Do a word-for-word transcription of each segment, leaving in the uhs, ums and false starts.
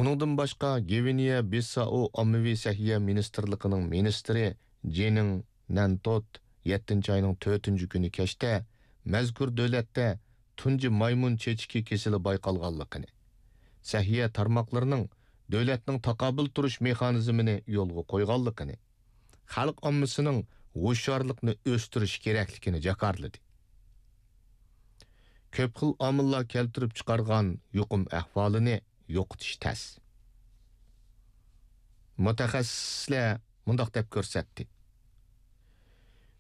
ئۇنىڭدىن باشقا، گۋىنېيە بىسسائو ئاممىۋى سەھىيە مىنىستىرلىقىنىڭ مىنىستىرى جېنىڭ نەنتوت يەتتىنچى ئاينىڭ تۆتىنچى كۈنى كەچتە مەزكۇر دۆلەتتە تۇنجى مايمۇن چېچىكى كېسىلى بايقالغانلىقىنى، سەھىيە تارماقلىرىنىڭ دۆلەتنىڭ تاقابىل تۇرۇش مېخانىزمىنى يولغا قويغانلىقىنى، خەلق ئاممىسىنىڭ ھوشيارلىقنى ئۆستۈرۈشى كېرەكلىكىنى جاكارلىدى. كۆپ خىل ئامىللار كەلتۈرۈپ چىقارغان يۇقۇم ئەھۋالىنى يوقىتىش تەس. مۇتەخەسسىسلەر مۇنداق دەپ كۆرسەتتى: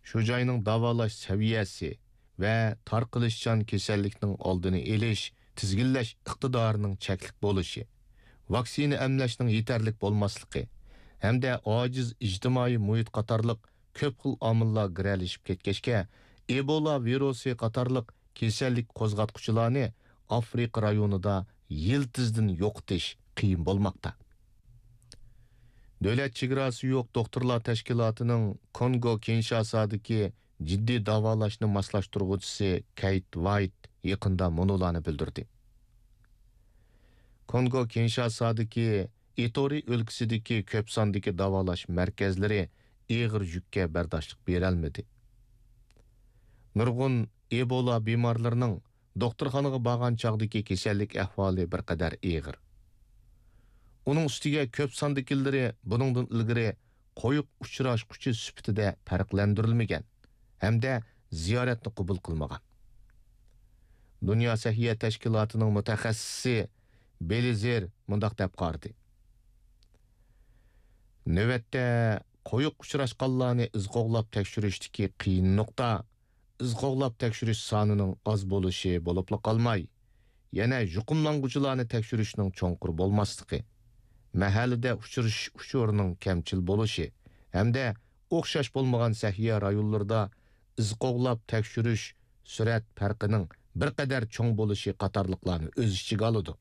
شۇ جاينىڭ داۋالاش سەۋىيەسى ۋە تارقىلىشچان كېسەللىكنىڭ ئالدىنى ئېلىش، تىزگىنلەش ئىقتىدارىنىڭ چەكلىك بولۇشى، ۋاكسىنا ئەملەشنىڭ يېتەرلىك بولماسلىقى ھەمدە ئاجىز ئىجتىمائىي مۇھىت قاتارلىق كۆپ خىل ئامىللار گىرەلىشىپ كەتكەچكە، ئېبولا ۋىرۇسى قاتارلىق كېسەللىك قوزغاتقۇچىلارنى ئافرىقا رايونىدا يىلتىزدىن يوقىتىش قىيىن بولماقتا. دۆلەت چېگراسى يوق دوختۇرلار تەشكىلاتىنىڭ كونگو كىنشاسادىكى جىددىي داۋالاشنى ماسلاشتۇرغۇچىسى كەيت ۋايت يېقىندا مۇنۇلارنى بىلدۈردى: كونگو كىنشاسادىكى ئىتورى ئۆلكىسىدىكى كۆپ ساندىكى داۋالاش مەركەزلىرى ئېغىر يۈككە بەرداشلىق بېرەلمىدى. نۇرغۇن ئېبولا بىمارلىرىنىڭ دوختۇرخانىغا بارغان چاغدىكى كېسەللىك ئەھۋالى بىر قەدەر ئېغىر. ئۇنىڭ ئۈستىگە كۆپ ساندىكىلىرى بۇنىڭدىن ئىلگىرى قويۇق ئۇچراشقۇچى سۈپىتىدە پەرقلەندۈرۈلمىگەن ھەمدە زىيارەتنى قوبۇل قىلمىغان. دۇنيا سەھىيە تەشكىلاتىنىڭ مۇتەخەسسىسى بېلىزېر مۇنداق دەپ قارىدى: نۆۋەتتە قويۇق ئۇچراشقانلارنى ئىز قوغلاپ تەكشۈرۈشتىكى قىيىن نۇقتا، ئىز قوغلاپ تەكشۈرۈش سانىنىڭ ئاز بولۇشى بولۇپلا قالماي، يەنە يۇقۇملانغۇچىلارنى تەكشۈرۈشنىڭ چوڭقۇر بولماسلىقى، مەھەللىدە ئۇچرىشىش ئۇچۇرىنىڭ كەمچىل بولۇشى ھەمدە ئوخشاش بولمىغان سەھىيە رايونلىرىدا ئىز قوغلاپ تەكشۈرۈش سۈرئەت پەرقىنىڭ بىر قەدەر چوڭ بولۇشى قاتارلىقلارنى ئۆز ئىچىگە ئالىدۇ.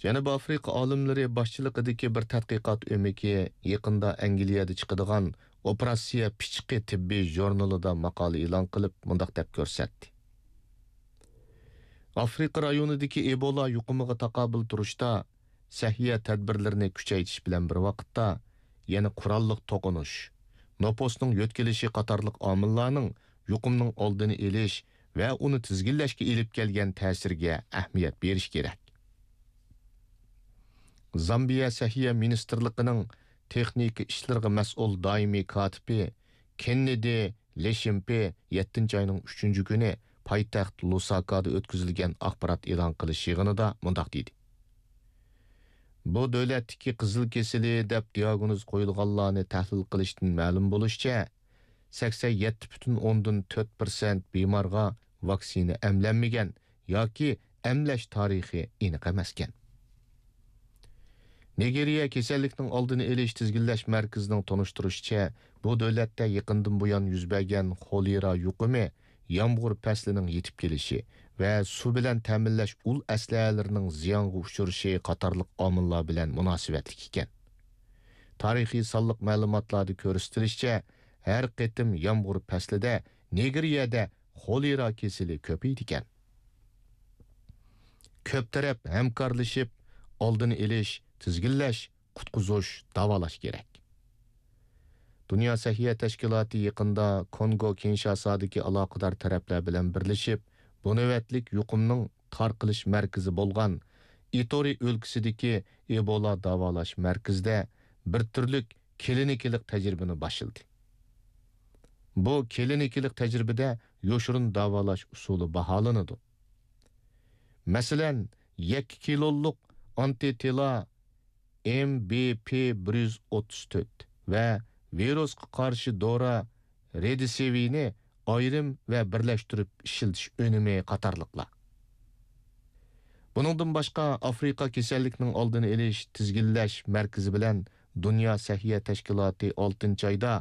جەنۇبىي ئافرىقا ئالىملىرى باشچىلىقىدىكى بىر تەتقىقات ئۆمىكى يېقىندا ئەنگلىيەدە چىقىدىغان ئوپېراتسىيە پىچىقى تېببىي ژۇرنىلىدا ماقالە ئېلان قىلىپ، مۇنداق دەپ كۆرسەتتى: ئافرىقا رايونىدىكى ئېبولا يۇقۇمىغا تاقابىل تۇرۇشتا سەھىيە تەدبىرلىرىنى كۈچەيتىش بىلەن بىر ۋاقىتتا، يەنە قوراللىق توقۇنۇش، نوپۇسنىڭ يۆتكىلىشى قاتارلىق ئامىللارنىڭ يۇقۇمنىڭ ئالدىنى ئېلىش ۋە ئۇنى تىزگىنلەشكە ئېلىپ كەلگەن تەسىرىگە ئەھمىيەت بېرىش كېرەك. زامبىيە سەھىيە مىنىستىرلىقىنىڭ تېخنىكا ئىشلىرىغا مەسئۇل دائىمىي كاتىپى كېننېدى لېشىمپې يەتتىنچى ئاينىڭ ئۈچىنچى كۈنى پايتەخت لۇساكادا ئۆتكۈزۈلگەن ئاخبارات ئېلان قىلىش يىغىنىدا مۇنداق دېدى: بۇ دۆلەتتىكى قىزىل كېسىلى دەپ دىياگنوز قويۇلغانلارنى تەھلىل قىلىشتىن مەلۇم بولۇشىچە، سەكسەن يەتتە پۈتۈن ئوندىن تۆت پىرسەنت بىمارغا ۋاكسىنا ئەملەنمىگەن ياكى ئەملەش تارىخى ئېنىق ئەمەسكەن. نىگېرىيە كېسەللىكنىڭ ئالدىنى ئېلىش تىزگىنلەش مەركىزىنىڭ تونۇشتۇرۇشىچە، بۇ دۆلەتتە يېقىندىن بۇيان يۈز بەرگەن خولېرا يۇقۇمى يامغۇر پەسلىنىڭ يېتىپ كېلىشى ۋە سۇ بىلەن تەمىنلەش ئۇل ئەسلىھەلىرىنىڭ زىيانغا ئۇچرىشى قاتارلىق ئامىللار بىلەن مۇناسىۋەتلىك ئىكەن. تارىخىي سانلىق مەلۇماتلاردا كۆرسىتىلىشىچە، ھەر قېتىم يامغۇر پەسلىدە نىگېرىيەدە خولېرا كېسىلى كۆپىيىدىكەن. كۆپ تەرەپ ھەمكارلىشىپ، ئالدىنى ئېلىش، تىزگىنلەش، قۇتقۇزۇش، داۋالاش كېرەك. دۇنيا سەھىيە تەشكىلاتى يېقىندا كونگو كىنشاسادىكى ئالاقىدار تەرەپلەر بىلەن بىرلىشىپ، بۇ نۆۋەتلىك يۇقۇمنىڭ تارقىلىش مەركىزى بولغان ئىتورى ئۆلكىسىدىكى ئېبولا داۋالاش مەركىزىدە بىر تۈرلۈك كلىنىكىلىق تەجرىبىنى باشلىدى. بۇ كلىنىكىلىق تەجرىبىدە يوشۇرۇن داۋالاش ئۇسۇلى باھالىنىدۇ. مەسىلەن، يەككە كىلولۇق ئانتىتىلا ئېم بى پى بىر يۈز ئوتتۇز تۆت ۋە ۋىرۇسقا قارشى دورا رېدىسىۋىنى ئايرىم ۋە بىرلەشتۈرۈپ ئىشلىتىش ئۈنۈمى قاتارلىقلار. بۇنىڭدىن باشقا، ئافرىقا كېسەللىكنىڭ ئالدىنى ئېلىش تىزگىنلەش مەركىزى بىلەن دۇنيا سەھىيە تەشكىلاتى ئالتىنچى ئايدا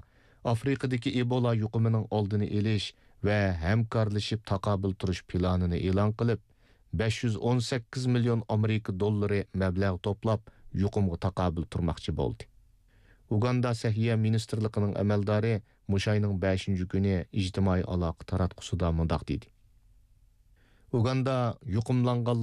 ئافرىقىدىكى ئېبولا يۇقۇمىنىڭ ئالدىنى ئېلىش ۋە ھەمكارلىشىپ تاقابىل تۇرۇش پىلانىنى ئېلان قىلىپ، بەش يۈز ئون سەككىز مىليون ئامېرىكا دوللىرى مەبلەغ توپلاپ، يۇقۇمغا تاقابىل تۇرماقچى بولدى. ئۇگاندا سەھىيە مىنىستىرلىقىنىڭ ئەمەلدارى مۇشۇ ئاينىڭ بەشىنچى كۈنى ئىجتىمائىي ئالاقە تاراتقۇسىدا مۇنداق دېدى: ئۇگاندا يۇقۇملانغانلار